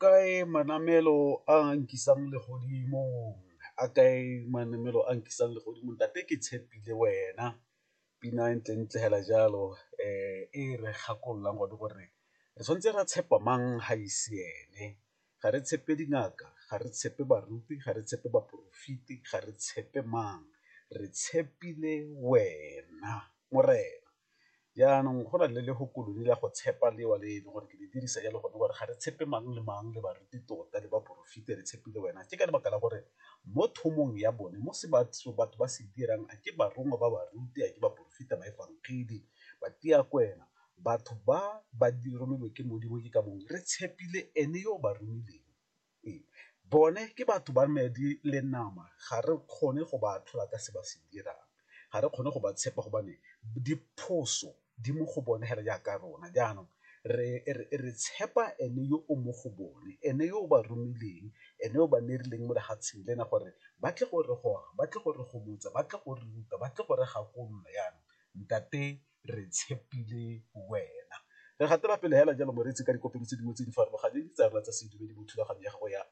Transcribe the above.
Kae manamelo a nkisang legodimong, a kae manamelo a nkisang legodimong ntate ke tshepile wena. Pina e ntle-ntle fela jalo e re gakololang gone gore re tshwanetse ra tshepa mang ga e se ene, ga re tshepe dingaka, ga re tshepe baruti, ga re tshepe baporofeti, ga re tshepe mang re tshepile wena Morena. Jaanong go na le lefoko le la go tshepa leo le e leng gore ke le dirisa jalo gone gore ga re tshepe mang le mang le baruti tota le baporofeta re tshepile wena, ke ka lebaka la gore mo thomong ya bone mo se batho ba se dirang a ke barongwa ba baruti, a ke baporofeta, baefangedi, batho ba ba romilwe ke Modimo ke ka moo re tshepile ene yo o ba romileng. Ee, bone ke batho ba madi le nama ga re kgone go ba atlhola ka se ba se dirang, ga re kgone go ba tshepa gobane diphoso di mo go bone fela jaaka rona, jaanong re tshepa ene yo o mo go bone, ene yo o ba romileng, ene o ba mo lefatsheng lena gore ba tle gore goga, ba tle gore gomotsa, ba tle go ruta, ba tle go re gakolola jaanong ntate re tshepile wena. Re gatela pele fela jalo moreetsi ka dikopelo tse dingwe tse di farologaneng tsa rona tsa sedumedi mo thulaganyo ya gago ya .